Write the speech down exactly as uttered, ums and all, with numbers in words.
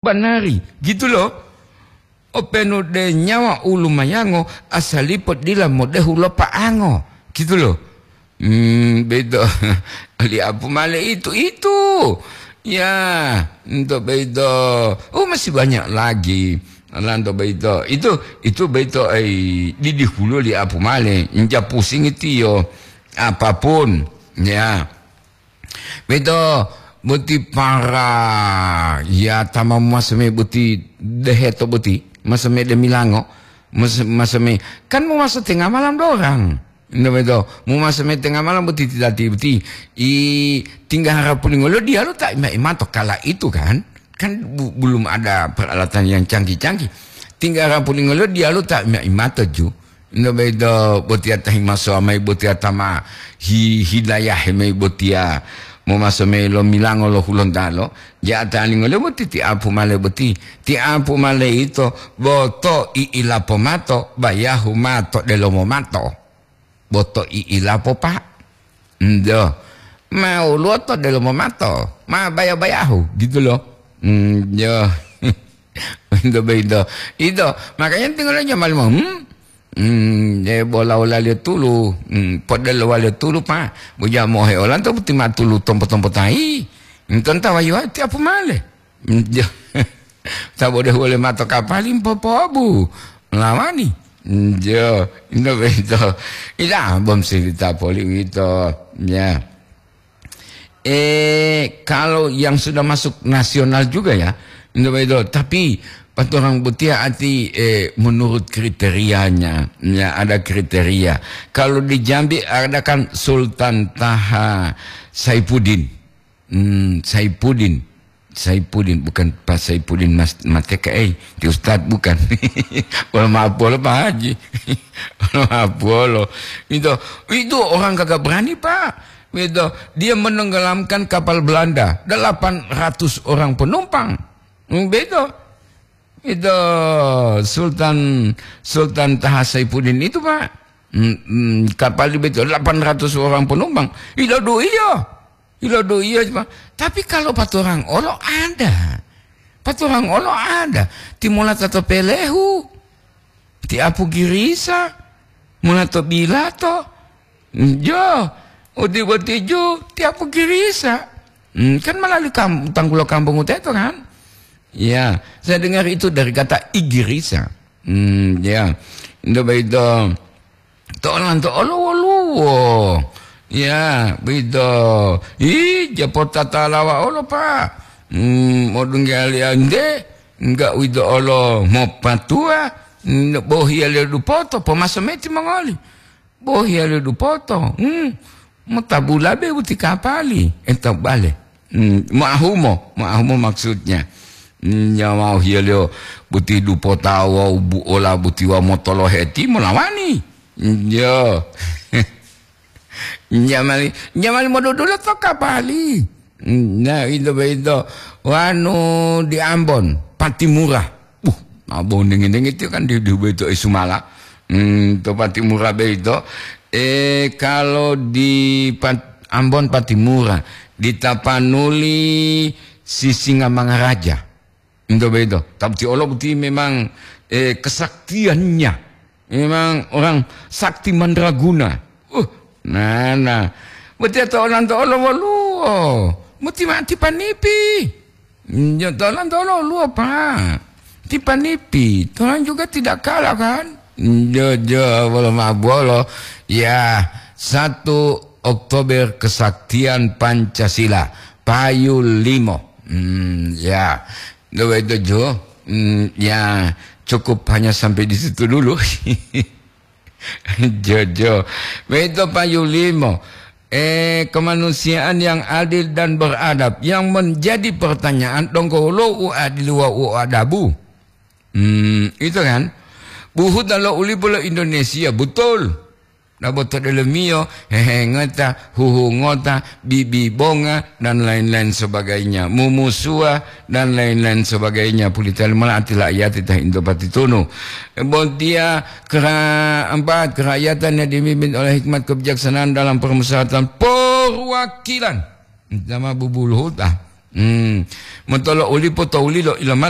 banari, gitu loh. Openu de nyawa u lumayango, asalipo dila modehu lo pa'ango, gitu loh. Hmm, beto liapu male itu, itu. Ya, untuk beto. Oh, masih banyak lagi. Lanto beto. Itu, itu beto, eh, didihulu liapu male. Inja pusing itu yo. Apapun, ya. Beto, boti para, ya, tama mumaseme boti deheto boti, maseme de milango, mas-, maseme, kan mumaso tenga malam dorang. Ndo beto, mumaseme tenga malam boti titati boti, i tingga harapu lingolo dialo ta ima-imato kala itu kan? Kan bu-, belum ada peralatan yang canggih-canggih. Tingga harapu lingolo dialo ta ima-imato ju. Ndo bedo botiya ta himasowa mayi botiya ta ma hi-, hilayahe mayi botiya momaso mayi lo milango lo Hulontalo, ja'ata lingole boti ti apu male boti. Ti apu male ito boto i'ilapo mato, bayahu mato delomo mato. Boto i'ilapo, Pak. Njo. Ma woluwo to delomo mato, ma baya-bayahu, gitu loh. Njo. Njo bedo. Ito, makanya tinggal aja malu, hmm? Hmm, e bola-bola liyo tulu, hmm, podelo waliyo tulu, Pak. Boja mohe olanto boti ma tulu tompo-tompo tahi. Ntonta wayu ti apu male. Hmm, jo. Tabo de wole mato kapali mpopobu. Lawani. Hmm, jo. Ino beto. Ila bom silita poli wito. Ya. Eh, kalau yang sudah masuk nasional juga ya, Indo Baido. Tapi paturang botiya ati, eh, menurut kriterianya, ya ada kriteria. Kalau di Jambi ada kan Sultan Taha Saipudin. Hmm, Saipudin. Saipudin, bukan Pak Saipudin Mas Mateka, eh, di Ustadz bukan. Wala maaf polo Pak Haji. Wala maaf polo. Itu, itu orang kagak berani, Pak. Beto, dia menenggelamkan kapal Belanda, delapan ratus orang penumpang. Hmm, beto. Itu Sultan, Sultan Taha Saipudin itu, Pak. Hmm, hmm, kapal di beto, delapan ratus orang penumpang. Ilo do iya. Ilo do iya, Pak. Tapi kalau paturang olo ada. Paturang olo ada. Timula tato pelehu. Ti apu girisa, mula to bilato, jo, udi boti ju, ti apu girisa. Hmm, kan melalui kam-, tanggulo kampung uteto kan? Ya, saya dengar itu dari kata igirisa. Hmm, ya. Indo baido, to'olanto olo woluwo. Ya, baido. Ih, japotatalawa olo, Pak. Hmm, modungge aliya nde, enggak uwito olo mopatuwa, n-, bohiyaliyo dupoto, pomaso meti mongoli. Bohiyaliyo dupoto, hmm, motabula be boti kapali, eh, tabale. Hmm, moahumo, moahumo maksudnya. Hmm, nyawa hiyaliyo boti dupota wawu buola boti wawu motolohe ti molawani. Hmm, yo. Jamali, jamali modudula to kapali. Nah, itu begitu. Wanu di Ambon, Patimura. Uh, Ambon dingin-dingin itu kan di, di begitu Isumala. Hmm, to Patimura begitu. Eh, kalau di Pat-, Ambon Patimura, di Tapanuli Sisingamangaraja. Ento boyito, ta boti olo boti memang, eh, kesaktiannya. Memang orang sakti mandraguna. Uh, nana. Boti to olanto olo woluwo. Boti mati panipi. Njo to olanto olo woluwo, Pak. Ti panipi. Tuhan juga tidak kalah, kan? Njo, jo, bolo ma bolo. Ya, satu Oktober kesaktian Pancasila. Payu limo. Hmm, ya. Nggak begitu, Jo. Hmm, ya, cukup hanya sampai di situ dulu. Jojo. Begitu Pak Yulimo. Eh, kemanusiaan yang adil dan beradab. Yang menjadi pertanyaan, donggo lo u adil wa u adabu. Hmm, itu kan. Buhu talo ulipo lo Indonesia, betul. Nabo to delomiyo, hehengota, huhungota, bibibonga, dan lain-lain sebagainya. Mumusuwa, dan lain-lain sebagainya. Pulita lima ati la'iyati ta hinto patitunu. Bontiya kera-, empat, kerakyatan yang dipimpin oleh hikmat kebijaksanaan dalam permusyawaratan perwakilan. Sama bubuluhuta. Hmm. Motolo ulipo to ulilo ilomata